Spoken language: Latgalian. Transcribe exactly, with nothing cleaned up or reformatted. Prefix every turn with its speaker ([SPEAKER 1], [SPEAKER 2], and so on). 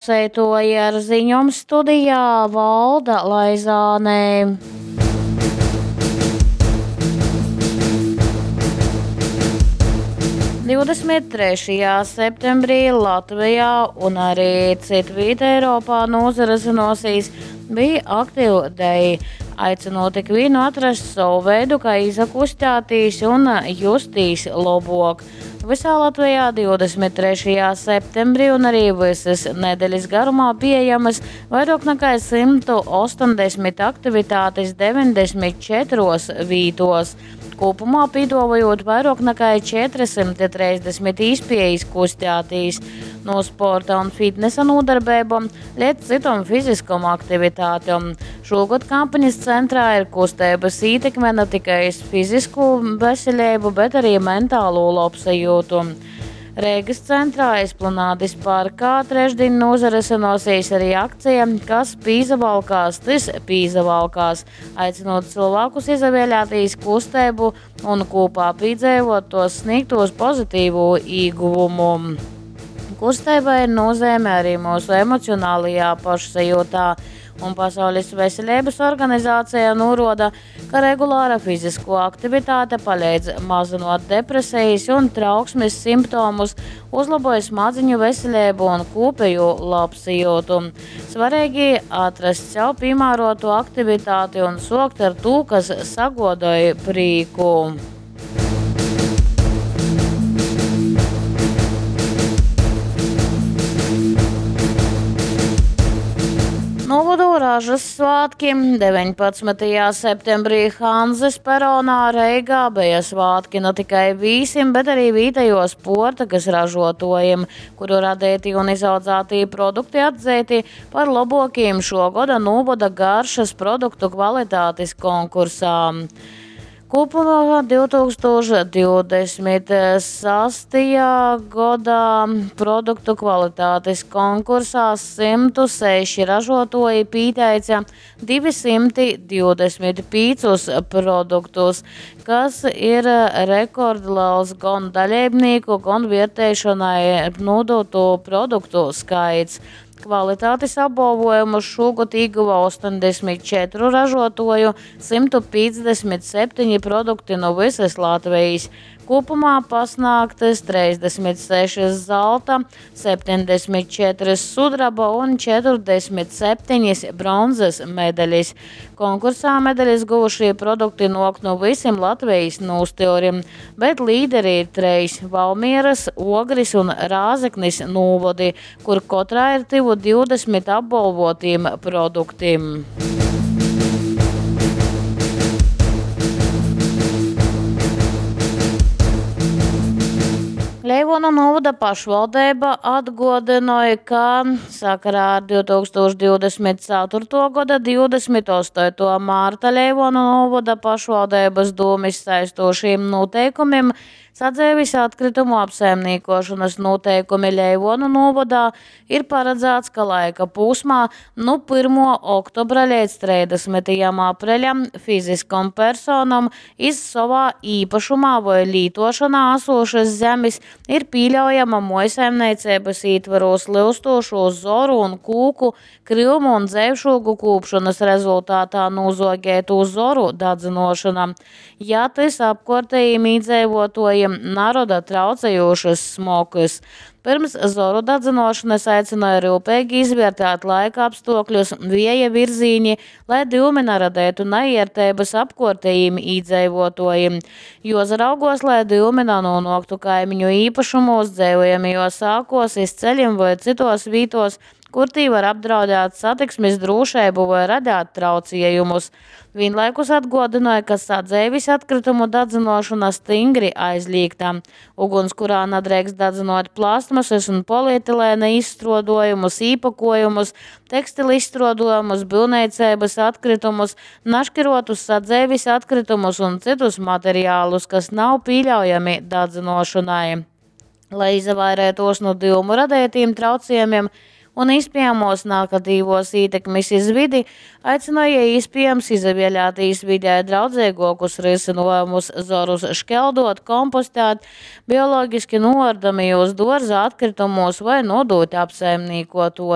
[SPEAKER 1] Klauseituoji, ar ziņom studijā Valda Laizāne. divdesmit trešajā septembrī Latvijā un arī citvīt Eiropā nūsarysynosies Be Active Day, aicinot ikvienu atrast savu veidu, kā izakustēties un justīs labok. Visā Latvijā divdesmit trešajā septembrī un arī visas nedēļas garumā pieejamas vairāk nekā simtu astoņdesmit aktivitātes deviņdesmit četros vītos. Kopumā piedāvājot vairāk nekā četrisimti trīsdesmit īspējas kustēties no sporta un fitnesa nodarbībām līdz citom fiziskom aktivitātēm. Šogad kampaņas centrā ir kustības ietekme ne tikai uz fizisko veselību, bet arī mentālo labsajūtu. Reigas centrā Esplanādes parkā trešdien nozaresinosies arī akcija, kas pīzavalkās, tas pīzavalkās, aicinot cilvēkus izavēlēties kustību un kopā piedzīvot tos sniegtos pozitīvu ieguvumu. Kustība ir nozīme arī mūsu emocionālajā pašsajūtā, un Pasaules veselības organizācija norāda, ka regulāra fizisko aktivitāte palīdz mazinot depresijas un trauksmes simptomus, uzlaboja smadziņu veselību un kopējo labsajūtu. Svarīgi atrast sev piemērotu aktivitāti un sokt ar to, kas sagodoja prieku. Novadu ražas svētki deviņpadsmitajā septembrī Hanzes peronā Reigā bija svētki ne tikai vīsim, bet arī vietējos portakas ražotājiem, kuru radīti un izaudzēti produkti atzīti par labākajiem šo gada novada garšas produktu kvalitātes konkursā. Kopumā divtūkstoš divdesmit sastajā gadā produktu kvalitātes konkursā simtu seši ražotoji pieteica divi simti divdesmit piecus produktus, kas ir rekordliels gan dalībnieku, gan vērtēšanai nodoto produktu skaits. Kvalitātes apbalvojumu šogad ieguva astoņdesmit četru ražotoju, simtu piecdesmit septiņi produkti no visas Latvijas. Kopumā pasniegtas trīsdesmit sešas zelta, septiņdesmit četras sudraba un četrdesmit septiņas bronzas medaļas. Konkursā medaļas guvušie produkti nāk no visiem Latvijas nūstyurim, bet līderi ir treis – Valmieras, Ogris un Rāzeknis nūvodi, kur katrā ir tuvu divdesmit apbalvotiem produktiem. Leivonu novada pašvaldība atgodināja, ka sakarā ar divtūkstoš divdesmit ceturto gada divdesmit astoto mārta Leivonu novada pašvaldības dūmis saistošiem noteikumiem sadzeives atkritumu apsaimniekošanas noteikumi Leivonu novadā ir paredzēts, ka laika posmā no pirmo oktobra līdz trīsdesmitajam apreļam fiziskom personam iz savā īpašumā vai lītošanā esošas zemes ir pieļaujama mojsaimniecības ietvaros lyustošo zoru un kūku, kryumu un dzēvšogu kūpšanas rezultātā nozogētu zoru dadzinošana. Ja tas apkārtējiem iedzīvotājiem naroda traucējošas smokas. Pirms zoru dadzinošanas aicināja rūpīgi izvērtēt laika apstākļus, vēja virzīņi, lai dyumi neradētu neiertības apkārtējiem iedzīvotājiem. Jo zaraugos, lai dyumi nenonāktu kaimiņu īpašumos, dzīvojamajos ēkos, iz ceļiem vai citos vītos, kur tī var apdraudēt satiksmes drošību vai radīt traucējumus. Vienlaikus atgādināja, ka sadzeives atkritumu dadzinošana stingri aizliegta. Ugunskurā nedrīkst dadzinot plastmasas un polietilēna izstrādājumus, īpakojumus, tekstilu izstrādājumus, būvniecības atkritumus, naškirotus sadzeives atkritumus un citus materiālus, kas nav pieļaujami dadzinošanai. Lai izvairītos no dyumu radītiem traucējumiem un iespējamos nākatīvos ietekmes iz vidi, aicināja iespējams izvēlēties vidē draudzīgākus risinājumus, zorus škeldot, kompostēt, bioloģiski noardamajos dārza atkritumos vai nodot apsaimniekotojam.